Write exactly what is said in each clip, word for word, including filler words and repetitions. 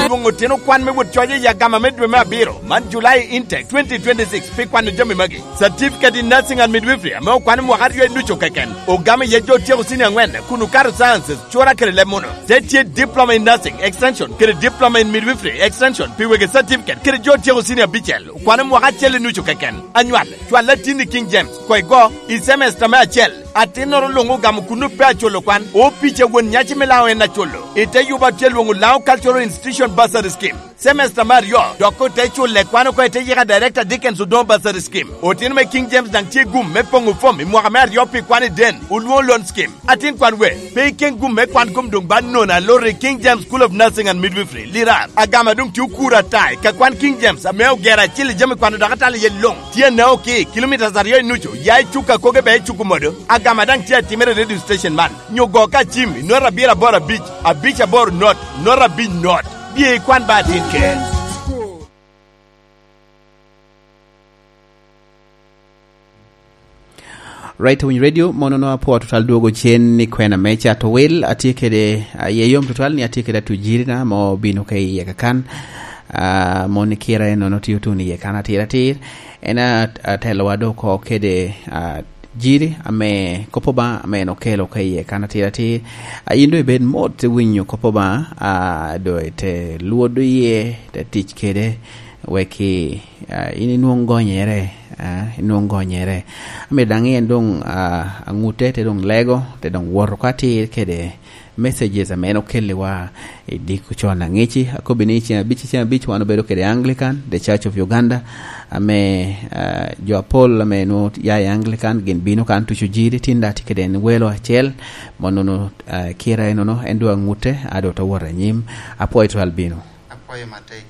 Lwoŋo otino kwan me wot coc i agama me dwe me abiro, man July intake twenty twenty-six, pi kwano jami magi. Certificate in Nursing and Midwifery ame okwano mwaka aryo i nucu keken, ogamo iye jo otyeko senior angwen kun okato sciences, cura kede leb muno. Te tye Diploma in Nursing Extension kede Diploma in Midwifery Extension pi wegi certificate kede jo otyeko senior abicel, okwano mwaka acel i nucu keken. Anywal, cwal atin i King James, koigo, i semester me acel. Atinnoro luŋ ogamo kuno pe aculo kwan. Opic a won nyaci me Laŋo en aculo. I te yubo atye lwoŋo Laŋo Cultural Institution Bursary Scheme. Semester me aryo, dok ote culle kwan oko i te yika Director Dickens Odongo Bursary Scheme. Otino me King James daŋ tye gum me poŋo fom i mwaka me aryo pi kwan i den, olwoŋo loan scheme. Atin kwan we, pe iken gum me kwan kom doŋ ba nono alor i King James School of Nursing and Midwifery, Lirar. Agama doŋ tye okuro ata i ka kwan King James ame ogero acil i jami kwano dok atalo iye luŋ. Tye anaoki, kilometres aryo i nucu, ya i cuk akoge be i cuk omodo. Agama daŋ tye atimere i radio station man. Nyo go ka cim, i nota abiro aboro abic, abic aboro not, nota abic not. Bye ikwan ba atin ker. Right Winy Radio, mono no apwo tutwal dwogo cen ni kwena me cato wil, atye kede, ah, aye yom tutwal ni atye kede atujiri na mo bino ka iye kakan. Ah, mon i kira enono tye otuno iye kan atir atir. En a-, atelowa do oko kede, ah, jiri ame kop Obaŋa ame en okelo ka iye kan atir atir. Ah, in do ibed mot te winyo kop Obaŋa, ah, do ite lwodo iye, te tic kede, wek i, ah, in inwoŋ gonyere, ah, inwoŋ gonyere. Amito daŋ en doŋ, ah, aŋute te doŋ lego, te doŋ woto ka atir kede messages ame en okelliwa i diko con aŋici. Akobbi ni ceŋ abic, ceŋ abic wan obedo kede Anglican, The Church of Uganda, ame, ah, jo apol ame nwoŋo ya i Anglican gin bino kan tuco jiri, tin daŋ tye kede en welo acel, monono, ah, kira enono, en doŋ aŋute, a doŋ te wot anyim. Apwoyo twal bino. Apwoyo matek.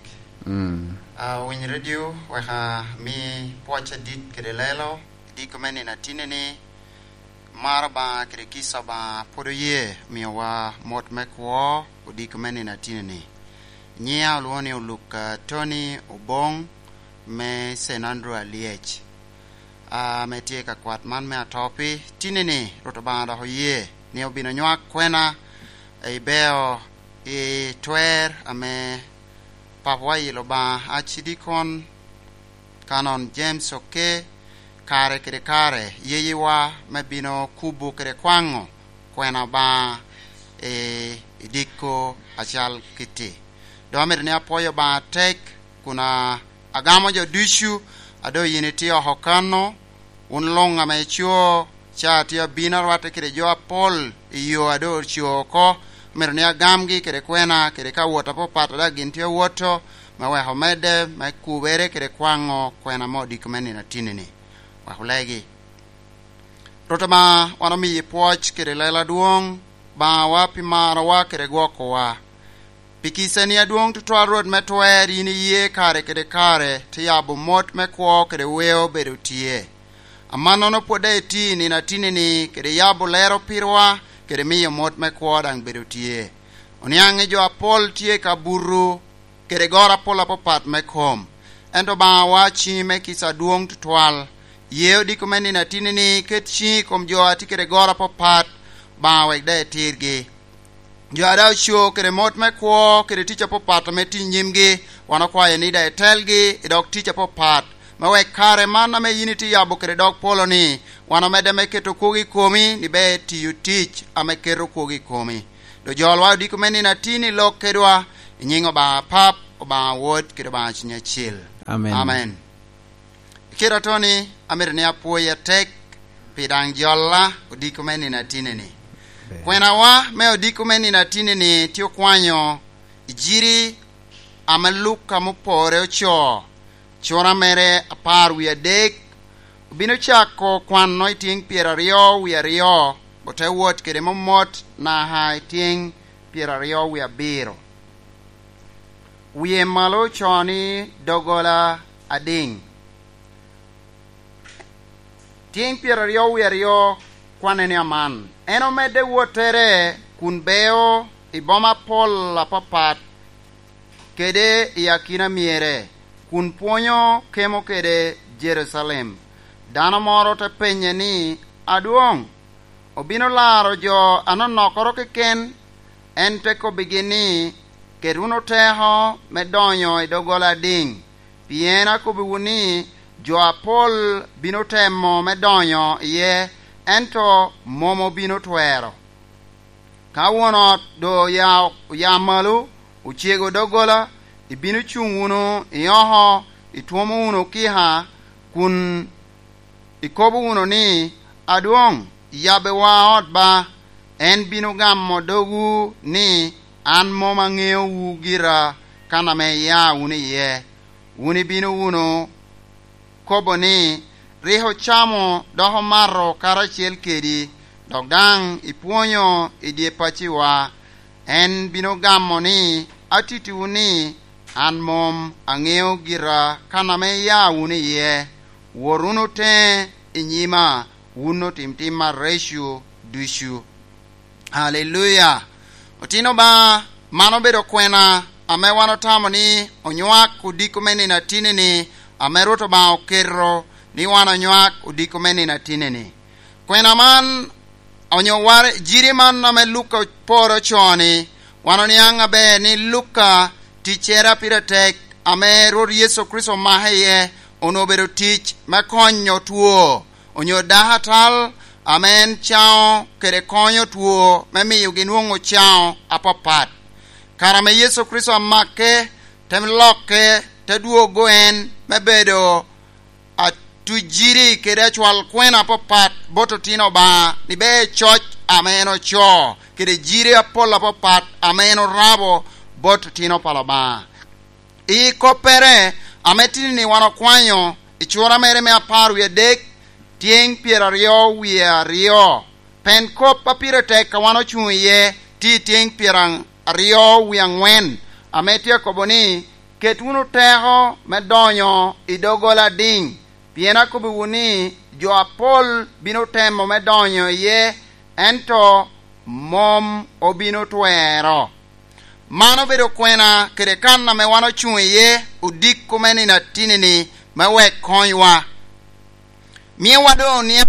Mm. Ah, Winy Radio, wek ami pwoc adit kede lelo, i diko me nino atini ni, maro Obaŋa kede kica Obaŋa pwod oye miyowa mot me kwo odiko me nino atini ni. Nyiŋa olwoŋo ni Oluk, ah, Tony Oboŋ me Saint Andrew Alyec, ah, ame tye i kakwat man me Atopi. Tini ni, Rwot Obaŋa dok oye ni obino nywak kwena i beo i twer ame Papawa i Lobaŋa, Acidikon Canon James Oke, kare kede kare, yeyewa me bino kubo kede kwaŋo kwena Obaŋa i, i diko acal kitti. Dok amito ni apwoyo Obaŋa atek, kun a-, agamo jo ducu a doŋ yin itye oko kano, wun luŋ ame ico, ca tye abino arwatte kede jo apol i yo a doŋ oco oko, myero ni agamgi kede kwena, kede ka wot apapat a daŋ gin tye awoto, me wek omedde me kubere kede kwaŋo kwena mo odiko me nino atini ni. Wek olegi. Rwot Obaŋa, wan omiyi pwoc kede lela adwoŋ, Obaŋawa pi marowa kede gwokowa. Pi kicani adwoŋ tutwal, Rwot me twer, yin iye kare kede kare, te yabo mot me kwo kede weo bedo tye. Amannono pwod daŋ iti i nino atini ni, kede yabo lero pirwa, kede miyo mot me kwo daŋ bedo tye. Oniaŋ i jo apol tye ka buto, kede goro apol apapat me kom. Ento Obaŋawa, ciŋi me kica adwoŋ tutwal. Ye odiko me nino atini ni, ket ciŋi i kom jo a tye kede goro apapat, Obaŋa, wek daŋ itirgi. Jo a daŋ oco kede mot me kwo kede tic apapat ame tye i nyimgi, wan okwayo ni daŋ itelgi i dog tic apapat, me wek kare man ame yin itye yabo kede dog polo-ni, wan omedde me keto kwogo i komi, ni ber tiyo tic ame keto kwogo i komi. Dok jolwa odiko me nino atini lok kedwa, i nyiŋ Obaŋa Pap, Obaŋa Wod, kede Obaŋa Cuny Acil. Amen. Amen. I kite atoni, amito ni apwoyi atek pi daŋ jolla odiko me nino atini-ni. Ber. Kwenawa me odiko me nino atini-ni tye okwanyo i jiri ame Luka mupore ocoo, cura mere apar wie adek, obino cako kwano i tyeŋ pyeraryo wie aryo, ote wot kede momot naka i tyeŋ pyeraryo wie abiro. Wie malo ocoo ni doggola adiŋ. Tyeŋ pyeraryo wie aryo kwanne ni aman, en omedde wottere kun beo i boma apol apapat kede i akina myere, kun pwonyo kemo kede Jerucalem. Dano moro te penye ni, "Adwoŋ, obino laro jo anonokkoro keken?" En te kobbigi ni, ket wunu teko me donyo i doggola adiŋ, pien akobbiwu ni, jo apol bino temo me donyo iye, ento mom obino twero. Ka won ot doŋ oya, oya malo, ocego doggola, ibino cuŋ wunu i oko, itwomo wunu okika, kun ikobo wunu ni, 'Adwoŋ, yabbiwa ot ba.' En bino gamo dogwu ni, 'An mom aŋeowu gira kan ame ia wunu iye.' Wun ibino wunu kobo ni, 'Rik ocamo dok omato karacel kedi, dok daŋ ipwonyo i dye pacciwa.' En bino gamo ni, 'Atittiwu ni, an mom aŋeo gira kan ame ia wunu iye. Wot wunu teŋe i nyima, wun otim tim areco ducu.'" Aleluya! Otino ba, man obedo kwena ame wan otamo ni onywak odiko me nino atini-ni, ame Rwot Obaŋa oketo ni wan onywak odiko me nino atini-ni. Kwena man onyo ware, jiri man ame Luka oporo ocoo-ni, wan oniaŋ aber ni Luka ticcere a pire tek ame Rwot Yecu Kricito omake iye onwoŋo obedo tic me konyo two, onyo dako atal ame en caŋo kede konyo two me miyogi nwoŋo caŋo apapat. Kare ame Yecu Kricito amake, te lokke, te dwogo en me bedo atujiri kede acwal kwena apapat bot otino Obaŋa, ni ber coc ame en ocoo, kede jiri apol apapat ame en orabo bot otino pa Obaŋa. I koppere ame tini-ni wan okwanyo i cura mere me apar wie adek, tyeŋ pyeraryo wie aryo. Pen kop a pire tek a wan ocuŋ iye tye i tyeŋ pyeraryo wie aŋwen, ame tye akobo ni, "Ket wunu teko me donyo i doggola adiŋ, pien akobbiwu ni, jo apol bino temo me donyo iye, ento mom obino twero." Man obedo kwena kede kan ame wan ocuŋ iye odiko me nino atini-ni me wek konywa. Miwa doŋ oniaŋ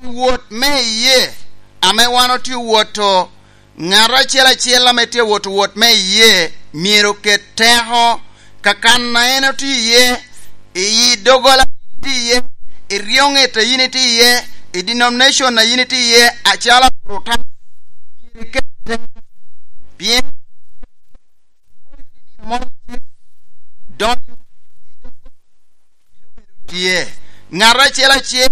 wot me iyee ame wan otye owoto. Ŋat acel acel ame tye owoto wot me iyee myero oket teko ka kan a en otye iye, i doggola a yin itye iye, i ryoŋet a yin itye iye, i denomination a yin itye iye, acalo Opurutano. Myero iket teko, pien donyo tye. Ŋat acel acel